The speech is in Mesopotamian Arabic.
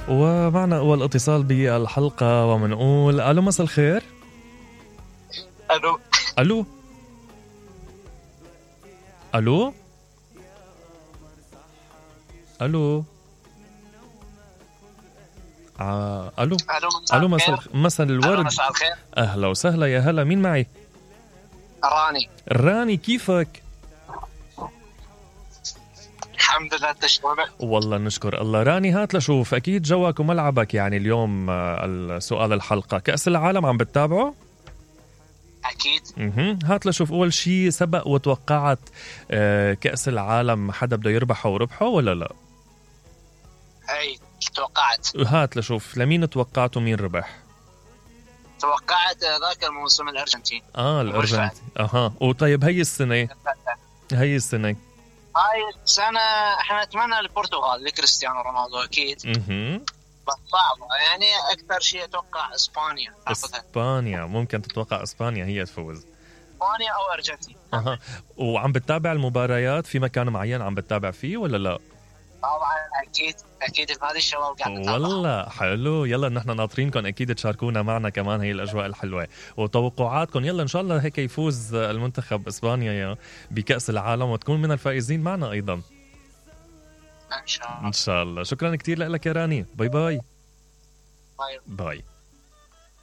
ومعنا أول اتصال بالحلقة ومنقول ألو مساء الخير. الو ألو ألو ألو ألو ألو مساء الورد. مساء الخير. أهلا وسهلا، يا هلا، مين معي؟ راني، كيفك؟ الحمد لله، تشكرك. والله نشكر الله. راني، هات لشوف، أكيد جوك وملعبك يعني اليوم السؤال الحلقة كأس العالم عم بتتابعه؟ أكيد. هات لشوف، أول شي سبق وتوقعت كأس العالم حدا بده يربحه وربحه ولا لا؟ أي توقعت. هات لشوف، لمين توقعت ومين ربح؟ توقعت ذاك الموسم الأرجنتين. الأرجنتين. وطيب هاي السنة هاي السنة احنا نتمنى البرتغال لكريستيانو رونالدو أكيد. بس صعبة يعني، أكثر شيء أتوقع إسبانيا. ممكن تتوقع إسبانيا هي تفوز. إسبانيا أو أرجنتين. وعم بتتابع المباريات في مكان معين عم بتتابع فيه ولا لا؟ طبعا أكيد هذه الشباب قاعد نتابع. والله حلو، يلا نحن ناطرينكم أكيد تشاركونا معنا كمان هي الأجواء الحلوة وتوقعاتكم. يلا إن شاء الله هيك يفوز المنتخب إسبانيا بكأس العالم وتكون من الفائزين معنا أيضا إن شاء الله. شكرا كتير لك يا راني. باي باي.